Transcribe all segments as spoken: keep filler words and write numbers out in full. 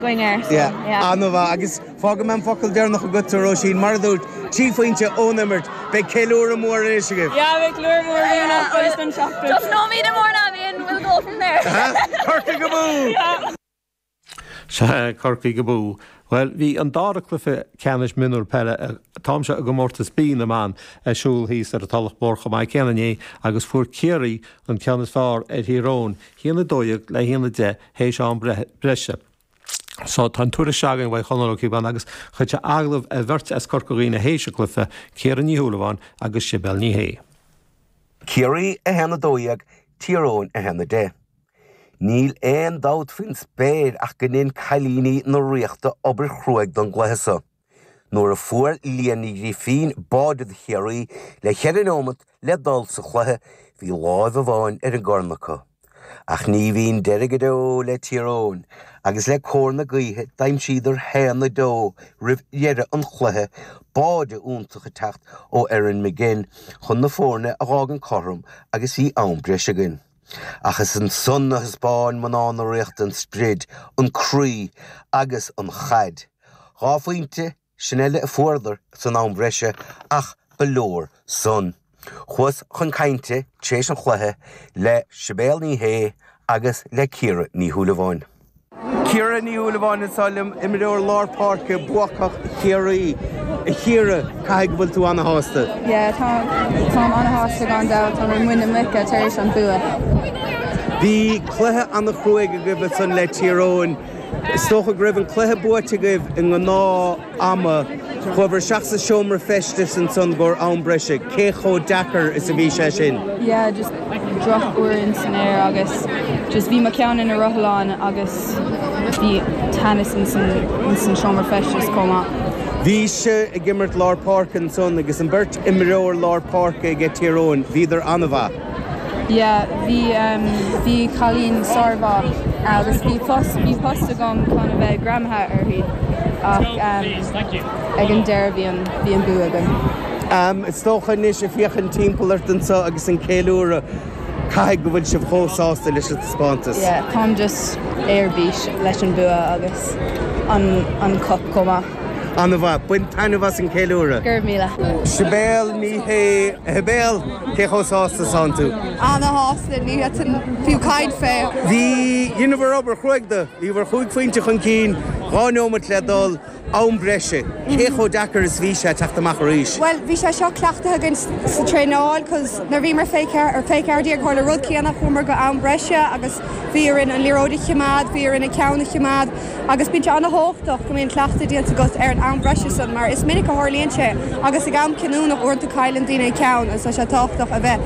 Againn air. So, Yeah, yeah. An-mhaith agus fágfaidh mé an focal deireanach agat Róisín mar a dúirt trí phointe ón imirt beidh ceiliúradh mór anois agaibh. Yeah, beidh ceiliúradh mór againn don seachtain. Just no me more now in we'll go from there. Corcaigh abú! Se Corcaigh abú. Well, bhí an dara cluiche ceannais mionúr peile táim se i gcomórtas B na mban ar siúl thíos ar an Tulach Mhór chomh maith céanna inné agus fuair Ciarraí an ceann is fearr ar Thír Eoghain, a haon a dó dhéag le a haon a deich théis am breise. So tá an tuairisc againn ó Chonall Ó Cíobháin agus chuir sé agallamh ar bheirt as Corca Dhuibhne théis an chluiche, Ciara Ní Shúilleabháin agus Sibéal Ní Shé. Ciarraí a haon a dó dhéag Tír Eoghain a haon a deich. Níl aon dabht faoin spéir ach go ndein cailíní na Ríochta obair chruaidh don gcluiche seo. Nuair a fuair Liadh Ní Ghrifín báide do Chiarraí le ceithre nóiméad le dul sa chluiche bhí láimh amháin ar an gcorn acu. Ach ní bhíonn deireadh go deo le Tír Eoghain, agus le cóir na gaoithe d'aimsíodar haon a dó roimh dheireadh an chluiche báide iontach ag teacht ó Erin McGinn chun na foirne a dh'fhágaint cothrom agus bhí am breise againn. Ach is ansan a thaispeáin mná na Ríochta an sprid, an croí agus an chaid. Dhá phointe sin eile a fuaireadar san am breise ach ba leor san. Chuas chun cainte tar éis an chluiche le Sibéal Ní Shé agus le Ciara Ní Shúilleabháin. Ciara Ní Shúilleabháin anseo liom imreoir lár páirce buacach Chiarraí. A Chiara caithfidh go bhfuil tú an-shásta. Yeah, tá táim an-shásta gan dabht tá muid na muice tar éis an bua. Bhí cluiche an-chruaidh agaibh ansan le Tír Eoghain. Is dócha go raibh an cluiche buaite agaibh i ngnáth ama chuabhar isteach sa seomra feistis ansan go am breise, cé chomh deacair is a bhí sé sin. Yeah, just drochfhuaim san aer agus just bhí mo cheann ina rothlán agus bhí teannas in san in san seomra feistis chomh maith. Bhí sé ag imirt lár páirce ansan agus an bheirt imreoir lár páirce ag Tír Eoghain, bhíodar an-mhaith. Yeah, bhí um, bhí cailín sármhaith agus bhí post bhí post agam chun a bheith greamaithe uirthi ach um, ag an deireadh bhí an bhí an bua againn. Um, is dócha anois ag féachaint timpeall ort anseo agus an ceiliúradh caithfidh go bhfuil sibh chomh sásta leis an taispeántas. Yeah, táim just ar bís leis an bua agus an an cup chomh maith. An-mhaith, bain taitneamh as an ceiliúradh. Go raibh míle. Sibéal Ní Shé Shibéal cé chomh sásta is atá tú. An-shásta ní an fiú caint fé. Bhí dheineabhair obair chruaidh de, bhí bhur chúig phointe chun cinn, dhá nóiméad le dul am breise, cé chomh deacair is bhí sé teacht amach arís. Well, bhí sé seo cleachtaithe againn sa traenáil, cos nuair bhíomar fé ar fé ceathair déag tharla rud céanna chuamar go am breise agus bhí orainn an liathróid a choimeád, bhí orainn an ceann a choimeád, agus bíonn sé an-tábhachtach go mbíonn cleachtadh déanta agat ar an am breise san mar is minic a tharlaíonn sé agus ag am cinniúnach uaireanta cailleann daoine an ceann agus tá sé tábhachtach a bheith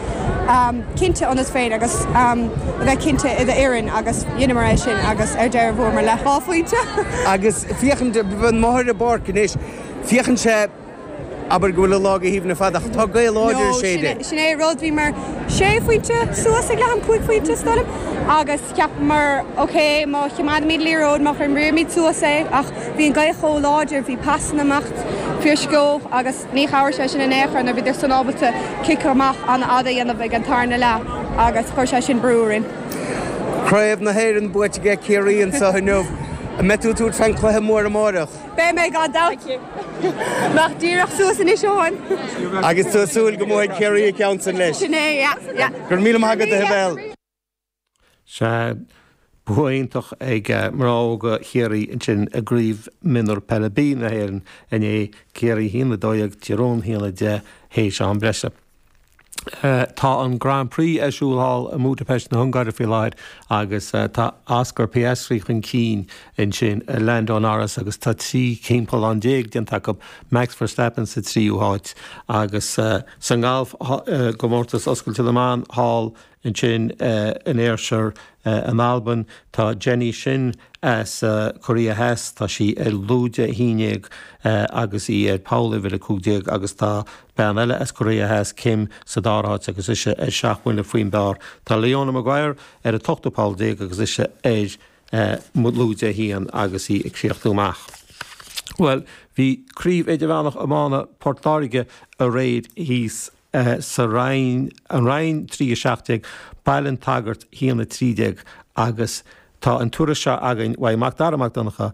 um, cinnte ionat féin agus um, a bheith cinnte i d'fhoireann agus dheineamar é sin agus ar deireadh bhuamar le dhá phointe. Agus féachaint an máthair i bpáirc anois, féachann sé abair go bhfuil an lá go haoibhinn fada ach tá gaoth láidir séide. Sin é rud bhí mar sé phointe suas ag leath ama cúig phointe is dóigh liom agus cheapamar ok má choimeádaimid liathróid má imrímid suas é ach bhí an ghaoth chomh láidir bhí pasanna amach fíorsciobtha agus ní chabhraigh sé sin in aon chor na bhíodar san ábalta cic amach an-fhada a dhéanamh ag an tarna leath agus chuir sé sin brú orainn. Craobh na hÉireann buaite ag Ciarraí anseo inniu, an mbeidh tú ag tabhairt fén cluiche mór amárach. Beidh mé gan dabht Nach díreach suas anois amháin. Agus tú súil go mbuafaidh Ciarraí an ceann san leis. Sin é, yeah, yeah. Gur míle maith agat a Shibéal. Se bua iontach ag mná óga Chiarraí ansin i gcraobh mionúr peile B na hÉireann inné Ciarraí a haon a dó dhéag Tír Eoghain a haon a deich théis am breise. Tá an Grand Prix ar siúl thall i mBudapest na hUngáire faoi láthair agus tá Oscar Piastri chun cinn ansin Lando Norris agus tá trí thimpeallán déag déanta acu Max Verstappen sa tríú háit agus sa ngalf gcomórtas oscailte na mban thall ansin in Ayrshire in Albain tá Jenny Shin as Cóiré Theas tá sí ar lúide a haon déag agus í ar poll uimhir a cúig déag agus tá bean eile as Cóiré Theas Kim sa dara háit agus ise ar seacht mbuille faoin bpar. Tá Leona Maguire ar an ochtú poll déag agus ise ar lúide a haon agus í ag críochnú amach. Well, bhí craobh idirmheánach iomána Port Láirge aréir thíos uh, sa Rinn an Rinn trí a seacht déag Baile an tSagairt a haon a trí déag agus Tá an tuairisc seo againn uaidh Macdara Mac Donncha